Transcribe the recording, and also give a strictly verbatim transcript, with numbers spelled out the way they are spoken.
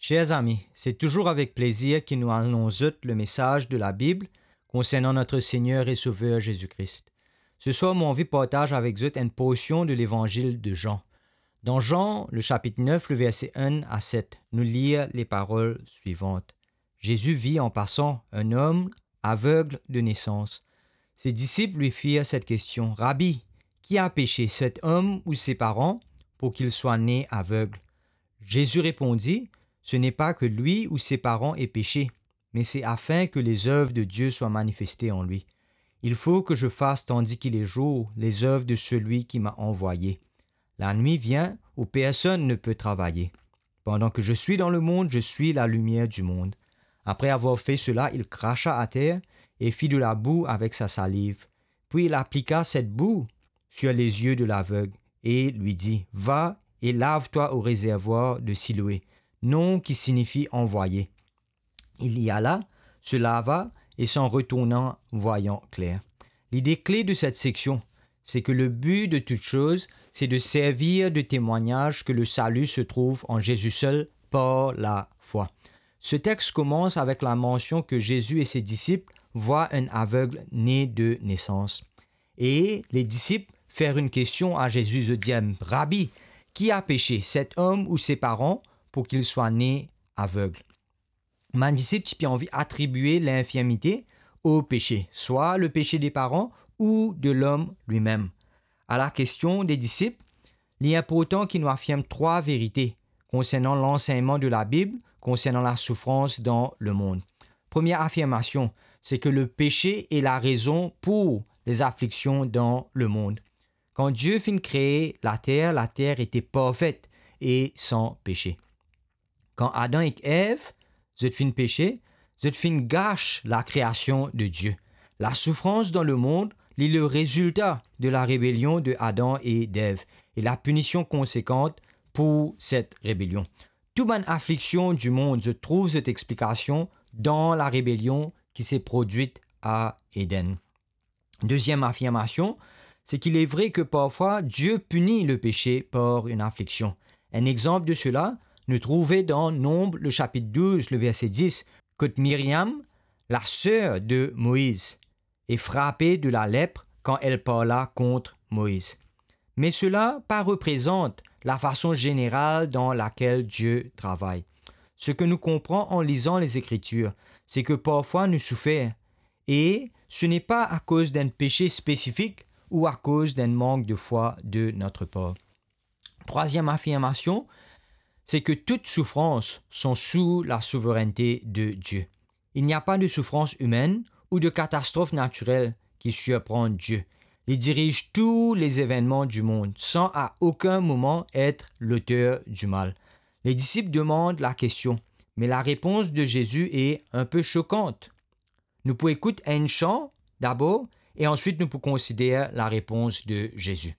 Chers amis, c'est toujours avec plaisir que nous annonçons zot le message de la Bible concernant notre Seigneur et Sauveur Jésus-Christ. Ce soir, mo anvi partaz avek zot enn porsion de Levanzil de Jean. Dan Jean, le chapitre neuf, le verset un à sept, nou lir les paroles suivantes. Jésus vit en passant un homme aveugle de naissance. Ses disciples lui firent cette question : « Rabbi, qui a péché, cet homme ou ses parents, pour qu'il soit né aveugle ? » Jésus répondit : « Ce n'est pas que lui ou ses parents aient péché, mais c'est afin que les œuvres de Dieu soient manifestées en lui. Il faut que je fasse, tandis qu'il est jour, les œuvres de celui qui m'a envoyé. La nuit vient où personne ne peut travailler. Pendant que je suis dans le monde, je suis la lumière du monde. » Après avoir fait cela, il cracha à terre et fit de la boue avec sa salive. Puis il appliqua cette boue sur les yeux de l'aveugle et lui dit : « Va et lave-toi au réservoir de Siloé », nom qui signifie envoyé. Il y alla, se lava et s'en retournant, voyant clair. L'idée clé de cette section, c'est que le but de toute chose, c'est de servir de témoignage que le salut se trouve en Jésus seul par la foi. Ce texte commence avec la mention que Jésus et ses disciples voient un aveugle né de naissance. Et les disciples faire une question à Jésus, zot dir : « Rabbi, qui a péché, cet homme ou ses parents, pour qu'il soit né aveugle ? » Bann disip ti pe anvi atribie linfirmite o pese, swa le pese de paran ou de lom limem. A la kestion de disip, li inportan ki nou afirm trwa verite konsernan lansegnman de Labib konsernan lasoufrans dan lemond. Premie afirmasion, se ki lepese e larezon pou lezafliksion dan lemond. Kan Die finn kree later, later ete parfet e san pese. Kan Adan ek Ev, zot finn pese, zot finn gas lakreasion de Die. Lasoufrans dan lemond, li le rezilta de larebelion de Adan e d'Ev e lapinision konsekant pou set rebelion. Tou bann afliksion dimond, zot trouv zot explikasion dan larebelion ki se prodwit a Eden. Deziem afirmasion, se ki li vre ki parfwa Die pini lepese par enn afliksion. Enn exanp de sela, nou trouve dan Nonb, le sapit douz, le verse dis, kot Miriam, laser de Moiz, e frape de lalepre kan el parla kont Moiz. Me sela pa reprezant lafason zeneral dan lakel Die travay. Seki nou konpran an lizan Lezekritir, se ki parfwa nou soufer, e se n'est pas à cause d'un péché spécifique ou à cause d'un manque de foi de notre part. Trwaziem afirmasion, se ki tout soufrans son sou lasouverennte de Die. Il n'y a pas de souffrance humaine ou de catastrophe naturelle qui surprend Dieu. Li diriz tou lezevennman dimond san a okenn moman et loter dimal. Ledisip demand lakestion, me larepons de Zezi e inpe sokant. Nou pou ekout enn san dabor e answit nou pou konsider larepons de Zezi.